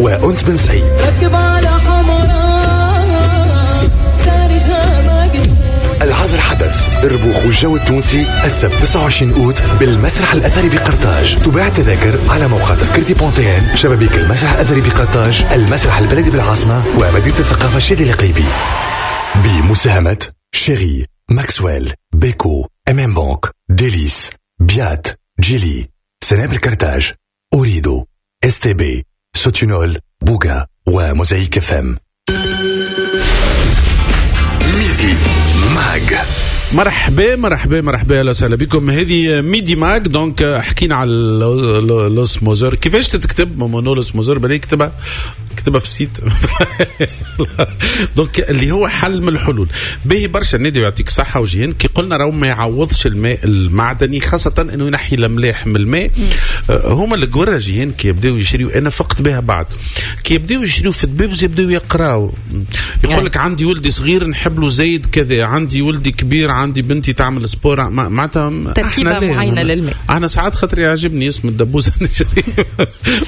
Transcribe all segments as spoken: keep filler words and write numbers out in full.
وأنس بن سعيد. ركب على حمراء العرض الحدث الربوخ والجو التونسي السبت تسعة وعشرين أوت بالمسرح الأثري بقرطاج. تباع التذاكر على موقع تذكرتي بونتين، شبابيك المسرح الأثري بقرطاج، المسرح البلدي بالعاصمة، ومدينة الثقافة الشادي القيبي. بمساهمة شيري، ماكسويل، بيكو، ام ام بانك، ديليس، بيات، جيلي، سنابل كرتاج، أوريدو، اس تي بي، سوتينول، بوغا، وموزايك اف ام. Midi Mag. مرحبا مرحبا مرحبا، اهلا وسهلا بكم. هذه Midi Mag. donc حكينا على l'osmoseur، كيفاش تتكتب مونو l'osmoseur؟ بالك كتبها كتبها في ال site. donc اللي هو حل من الحلول باهي برشا. النادي يعطيك صحة وجهين كي قلنا راهو ما يعوضش الماء المعدني، خاصة انه ينحي الاملاح من الماء. هما القوره جيهان كي يبداو يشريو، انا فقت بها بعد، كي يبداو يشريو في الدبابز يبداو يقراو، يقول لك عندي ولدي صغير نحب له زايد كذا، عندي ولدي كبير، عندي بنتي تعمل sport، معناتها تركيبه معينة للماء. انا ساعات خاطر يعجبني اسم الدبوزه نشري.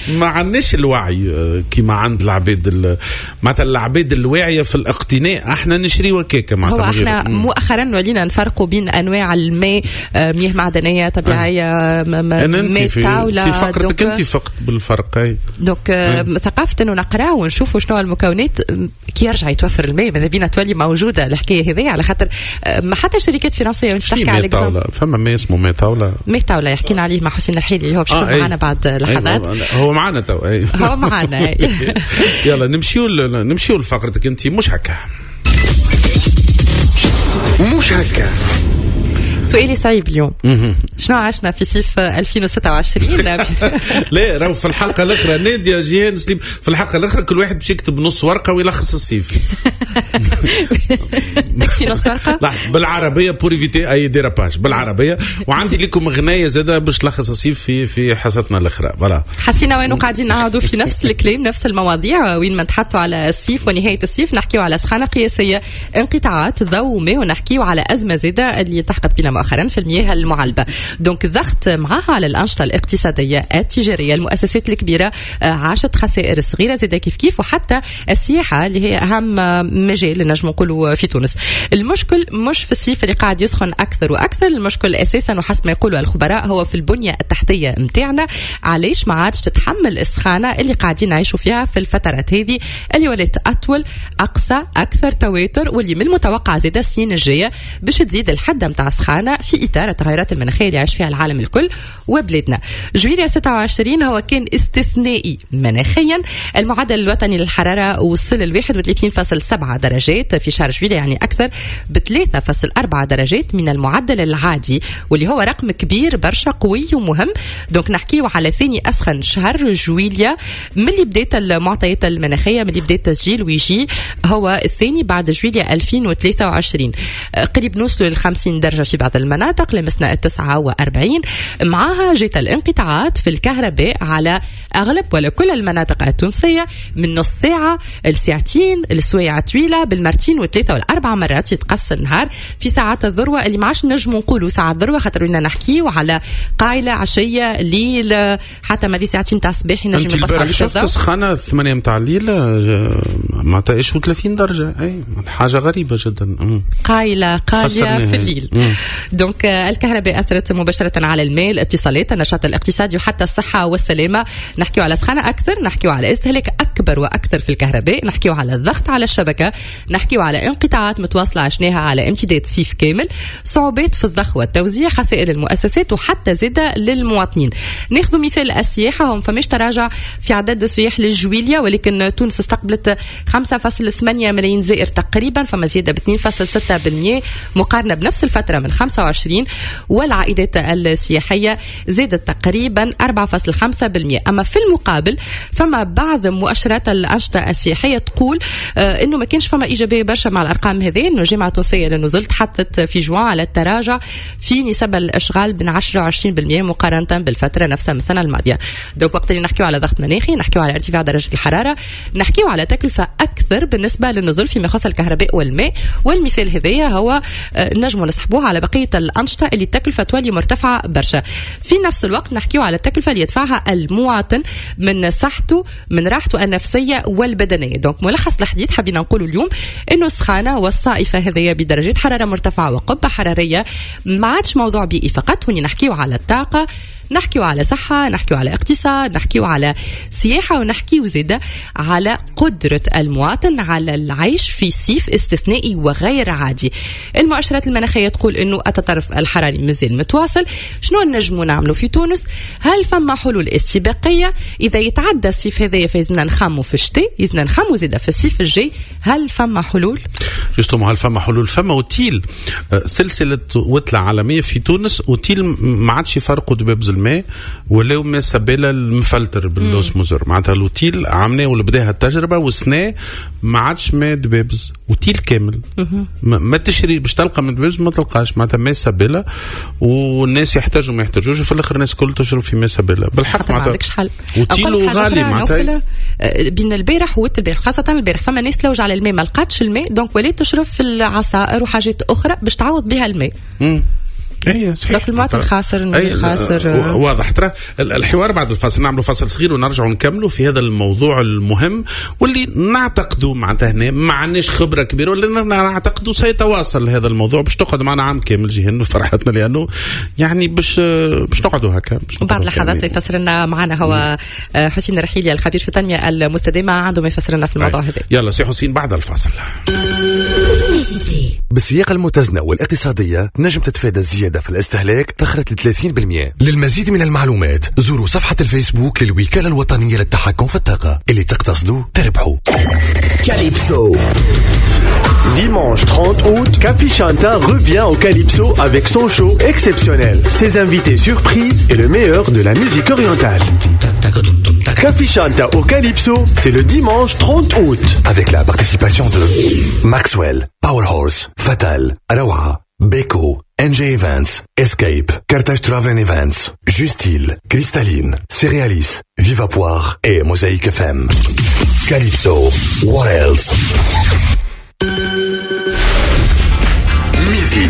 ما عندناش الوعي كيما عند العباد، معناتها العباد الواعية في الاقتناء، احنا نشري وكاكه. معناتها هو احنا مؤخرا ولينا نفرقوا بين انواع الماء، مياه معدنية طبيعية، ماء طاولة. في فقرتك انت فقت بالفرق. اي donc ثقافة انه نقرا ونشوفوا شنو المكونات كي يرجع يتوفر الماء، ماذا بينا تولي موجودة الحكاية هذه، على خاطر ما حتى شركات فرنسية وانت تحكي على طاولة، فما ما اسمه ماء طاولة، ماء طاولة يحكينا عليه مع حسين الرحيلي، هو باش يكون معنا بعد لحظات. هو معنا تو، هو معنا. يلا نمشيو نمشيو لفقرتك انت مش هكا. مش هكا. سؤالي صعيب اليوم، شنو عشنا في صيف ألفين وستة وعشرين؟ لا راهو في الحلقة الاخرى ناديه جيهان سليم، في الحلقة الاخرى كل واحد باش يكتب نص ورقة ويلخص الصيف. تكفي نص ورقة؟ لا بالعربية pour éviter اي dérapage بالعربية. وعندي لكم غنايه زاده باش تلخص الصيف في في حصتنا الاخرى. voilà حسينا وين قاعدين نعاودوا في نفس الكلام، نفس المواضيع، وين ما نتحطوا على الصيف ونهاية الصيف نحكيو على سخانه قياسية، انقطاعات ضوء ماء، ونحكيو على ازمة زاده اللي التحقت بنا مؤخرا في المياه المعلبة. donc ضغط معها على الأنشطة الاقتصادية التجارية، المؤسسات الكبيرة عاشت خسائر صغيرة زادة كيف كيف، وحتى السياحة اللي هي أهم مجال نجم نقولوا في تونس. المشكل مش في الصيف اللي قاعد يسخن أكثر وأكثر، المشكل أساسا وحسب ما يقولوا الخبراء هو في البنية التحتية متاعنا. علاش ما عادش تتحمل السخانة اللي قاعدين نعيشوا فيها في الفترات هذه اللي ولات أطول، أقصى، أكثر تواتر، واللي من المتوقع زادة السنين الجاية باش تزيد الحدة متاع السخانة في إطار التغيرات المناخية اللي عايش فيها العالم الكل وبلادنا. جويلية ستة وعشرين هو كان استثنائي مناخيا، المعدل الوطني للحرارة وصل ل واحد وثلاثين فاصل سبعة درجات في شهر جويلية، يعني أكثر ب ثلاثة فاصل أربعة درجات من المعدل العادي، واللي هو رقم كبير برشا قوي ومهم. donc نحكيو على ثاني أسخن شهر جويلية من اللي بدات المعطيات المناخية، من اللي بدات التسجيل، ويجي هو الثاني بعد جويلية ألفين وثلاثة وعشرين. قريب نوصلوا لل خمسين درجة في بعض المناطق، لمسنا التسعة وأربعين. معها جت الانقطاعات في الكهرباء على أغلب ولا كل المناطق التونسية، من نص ساعة لساعتين، السوايع طويلة بالمرتين والثلاثة والأربع مرات يتقص النهار في ساعات الذروة اللي ما عادش نجموا نقولوا ساعات الذروة، خاطر ولينا نحكيو على قايلة، عشية، ليل، حتى ما دي ساعتين تاع الصباح ينجم يقص على شفت سخانة ثمانية متاع الليل معناتها ايش وثلاثين درجة، اي حاجة غريبة جدا. قايلة قايلة في الليل. donc الكهرباء أثرت مباشرة على الماء، الاتصالات، النشاط الاقتصادي، وحتى الصحة والسلامة. نحكيو على سخانة أكثر، نحكيو على استهلاك أكبر وأكثر في الكهرباء، نحكيو على الضغط على الشبكة، نحكيو على انقطاعات متواصلة عشناها على امتداد صيف كامل، صعوبات في الضخ والتوزيع، خسائر المؤسسات، وحتى زادة للمواطنين. ناخذ مثال السياحة، هم فماش تراجع في عدد السياح لجويليا، ولكن تونس استقبلت خمسة فاصل ثمانية ملايين زائر تقريبا، فما زيادة ب اثنين فاصل ستة بالمئة مقارنة بنفس الفترة من خمسة وعشرين، والعائدات السياحية زادت تقريبا أربعة فاصل خمسة بالمئة. أما في المقابل فما بعض مؤشرات الأنشطة السياحية تقول آه إنه ما كانش فما إيجابية برشا مع الأرقام هذه، إنه الجامعة التونسية للنزول تحدثت في جوان على التراجع في نسب الإشغال بين عشرة وعشرين بالمئة مقارنة بالفترة نفسها من السنة الماضية. donc وقت اللي نحكيو على ضغط مناخي، نحكيو على ارتفاع درجة الحرارة، نحكيو على تكلفة اكثر بالنسبة للنزل فيما يخص الكهرباء والماء. والمثال هذايا هو نجموا نسحبوه على بقية الانشطة اللي التكلفة تولي مرتفعة برشا. في نفس الوقت نحكيو على التكلفة اللي يدفعها المواطن من صحته، من راحته النفسية والبدنيه. donc ملخص الحديث حبينا نقولوا اليوم انه السخانه والصائفه هذيا بدرجات حرارة مرتفعة وقبه حرارية ما عادش موضوع بيئي فقط. هوني نحكيو على الطاقة، نحكيو على صحة، نحكيو على اقتصاد، نحكيو على سياحة، ونحكيو زادة على قدرة المواطن على العيش في صيف استثنائي وغير عادي. المؤشرات المناخية تقول انه التطرف الحراري مازال متواصل. شنو نجمو نعملو في تونس؟ هل فما حلول استباقية؟ إذا يتعدى الصيف هذايا فيزنا نخمو في الشتاء، يزنا نخمو زادة في الصيف الجاي. هل فما حلول؟ justement هل فما حلول؟ فما اوتيل، سلسلة وتلة عالمية في تونس، اوتيل ما عادش يفرقوا دبابز الماء ولاو ما سبالة المفلتر بال osmoseur. معناتها الاوتيل عملناه ولا بداها التجربة والسنة ما عادش ماء دبابز، اوتيل كامل ما, ما تشري باش تلقى من دبابز ما تلقاش، معناتها ماء سبالة، والناس يحتاجوا ما يحتاجوش، في الاخر الناس كل تشرب في ماء سبالة. بالحق ما عندكش حل. اوتيل غالي معناتها. بين البارح والبارح خاصة البارح فما ناس تلوج على الماء ما لقاتش الماء، donc ولات تشرب في العصائر وحاجات اخرى باش تعوض بها الماء. اي صحيح، المواطن خاسر، المدير خاسر. واضح. ترى الحوار بعد الفاصل، نعملوا فاصل صغير ونرجعوا نكملوا في هذا الموضوع المهم واللي نعتقدوا معناتها هنا ما عندناش خبره كبيرة، ولا نعتقدوا سيتواصل هذا الموضوع باش تقعد معنا عام كامل جهن فرحتنا، لانه يعني باش باش نقعدوا هكا. وبعد لحظات يفسر لنا معنا هو حسين الرحيلي الخبير في التنمية المستدامة، عنده ما يفسر لنا في الموضوع هذا. يلا سي حسين بعد الفاصل. بالسياقة المتزنة والاقتصادية نجم تتفادى الزيادة في الاستهلاك تخرج ل ثلاثين بالمئة. للمزيد من المعلومات زوروا صفحة الفيسبوك للوكالة الوطنية للتحكم في الطاقة. اللي تقتصدوا تربحوا. كاليبسو. Dimanche trente août, Café Chanta revient au Calypso avec son show exceptionnel, ses invités surprises et le meilleur de la musique orientale. Café Chanta au Calypso, c'est le dimanche trente août. Avec la participation de Maxwell, Powerhorse, Fatal, Aloha, Beko, N J Events, Escape, Carthage Travel Events, Justile, Cristalline, Cerealis, Viva Poire et Mosaïque F M. Calypso, what else? Midi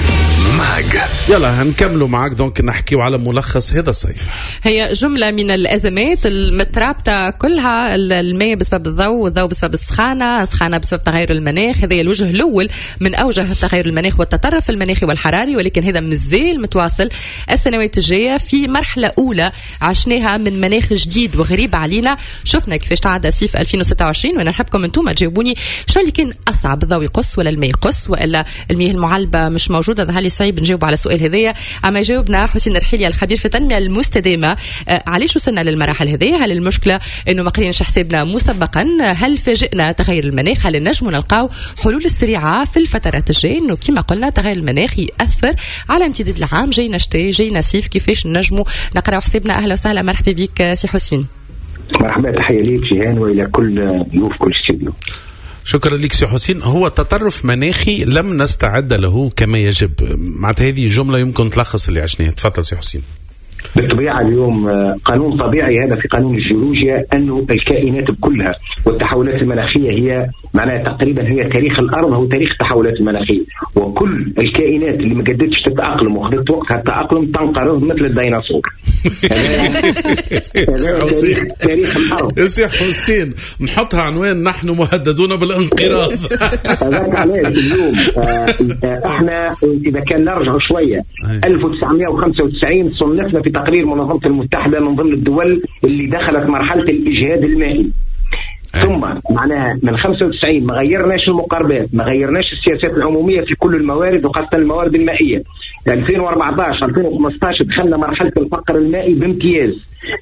Mag. يلا هنكملوا معاك donc نحكيو على ملخص هذا الصيف. هي جملة من الأزمات المترابطة كلها، الماء بسبب الضوء، والضوء بسبب السخانة، السخانة بسبب تغير المناخ. هذا الوجه الأول من أوجه تغير المناخ والتطرف المناخي والحراري، ولكن هذا مازال متواصل السنوات الجاية. في مرحلة أولى عشناها من مناخ جديد وغريب علينا، شفنا كيفاش تعدى صيف ألفين وستة وعشرين. وأنا نحبكم أنتم تجاوبوني شنو اللي كان أصعب، الضوء يقص ولا الماء يقص ولا المياه المعلبة مش موجودة؟ ظهر لي صعيب نجاوب على السؤال هذايا. اما جاوبنا حسين الرحيلي الخبير في التنمية المستدامة، آه علاش وصلنا للمراحل هذه؟ هل المشكلة انه ما قريناش حسابنا مسبقا؟ هل فاجئنا تغير المناخ؟ هل نجموا نلقاو حلول السريعة في الفترات الجاية؟ انه كما قلنا تغير المناخ ياثر على امتداد العام، جاينا شتاء جاينا صيف، كيفاش نجموا نقراو حسابنا؟ اهلا وسهلا، مرحبا بك سي حسين. مرحبا، تحية ليك جيهان والى كل ضيوف كل استوديو. شكرا لك سي حسين. هو تطرف مناخي لم نستعد له كما يجب، معناتها هذه جملة يمكن تلخص اللي عشناه. تفضل سي حسين. بالطبيعة اليوم قانون طبيعي هذا في قانون الجيولوجيا، أنه الكائنات كلها والتحولات المناخية هي معناها تقريبا هي تاريخ الأرض، هو تاريخ التحولات المناخية، وكل الكائنات اللي ما قدرتش تتأقلم وخذت وقتها التأقلم تنقرض مثل الديناصور. هذا تاريخ, تاريخ الأرض. سي حسين نحطها عنوان نحن مهددون بالانقراض. هذاك علاش اليوم احنا إذا كان نرجع شوية ألف وتسعمائة وخمسة وتسعين صنفنا في تقرير منظمة المتحدة من ضمن الدول اللي دخلت مرحلة الإجهاد المائي. ثم معناها من خمسة وتسعين ما غيرناش المقاربات، ما غيرناش السياسات العمومية في كل الموارد وخاصة الموارد المائية. ألفين وأربعة عشر ألفين وخمسة عشر دخلنا مرحلة الفقر المائي بامتياز.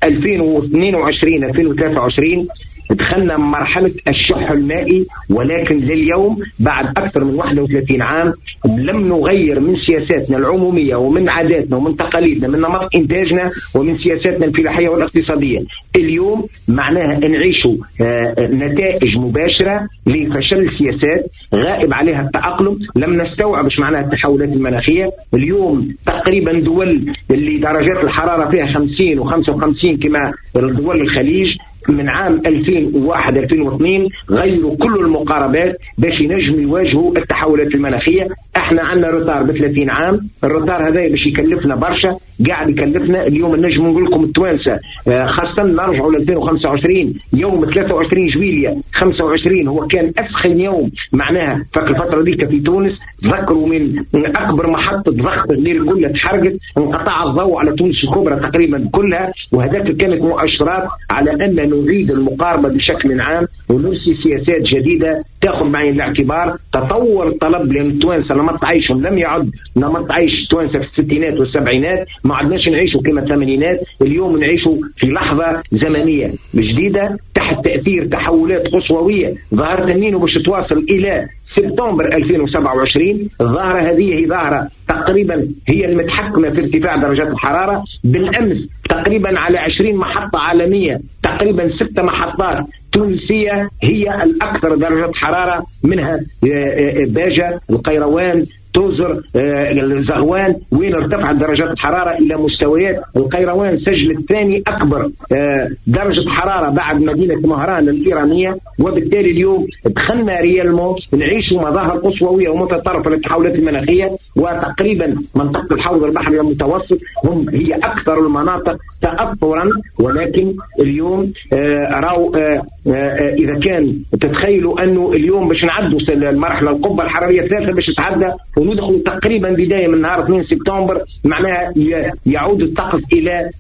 ألفين واثنين وعشرين ألفين وثلاثة وعشرين دخلنا مرحلة الشح المائي، ولكن لليوم بعد أكثر من واحد وثلاثين عام لم نغير من سياساتنا العمومية ومن عاداتنا ومن تقاليدنا، من نمط إنتاجنا ومن سياساتنا الفلاحية والاقتصادية. اليوم معناها نعيشوا نتائج مباشرة لفشل السياسات غائب عليها التأقلم، لم نستوعب ايش معناها التحولات المناخية. اليوم تقريبا دول اللي درجات الحرارة فيها خمسين وخمسة وخمسين كما دول الخليج من عام ألفين وواحد ألفين واثنين غيروا كل المقاربات باش ينجموا يواجهوا التحولات المناخية. احنا عندنا retard ب ثلاثين عام، ال retard هذا باش يكلفنا برشا، قاعد يكلفنا. اليوم نجم نقول لكم التوانسة خاصة نرجعوا ل ألفين وخمسة وعشرين، يوم ثلاثة وعشرين جويلية خمسة وعشرين هو كان اسخن يوم معناها في الفترة ديك في تونس. ذكروا من اكبر محطة ضغط الليل كلها تحرقت، انقطع الضوء على تونس الكبرى تقريبا كلها، وهذاك كانت مؤشرات على ان نعيد المقاربة بشكل عام ونرسي سياسات جديدة تاخذ بعين الاعتبار تطور الطلب، لان التوانسة نمط عيشهم لم يعد نمط عيش التوانسة في الستينات والسبعينات، ما عدناش نعيشوا كما الثمانينات. اليوم نعيشوا في لحظة زمنية جديدة تحت تاثير تحولات قصوويه ظاهره النينو باش تواصل الى سبتمبر ألفين وسبعة وعشرين. الظاهرة هذه هي ظاهرة تقريبا هي المتحكمة في ارتفاع درجات الحرارة. بالأمس تقريبا على عشرين محطة عالمية تقريبا ستة محطات تونسية هي الأكثر درجة حرارة، منها باجة، القيروان، توزر، الزغوان، وين ارتفعت درجات الحرارة إلى مستويات. القيروان سجلت ثاني أكبر درجة حرارة بعد مدينة مهران الإيرانية. وبالتالي اليوم دخلنا réellement نعيش مظاهر قصووية ومتطرفة للتحولات المناخية، وتقريبا منطقة الحوض البحري المتوسط هم هي أكثر المناطق تأثرا. ولكن اليوم راو إذا كان تتخيلوا أنه اليوم باش نعدوا المرحلة القبة الحرارية الثالثة باش تتعدى وندخل تقريبا بداية من نهار اثنين سبتمبر، معناها يعود الطقس إلى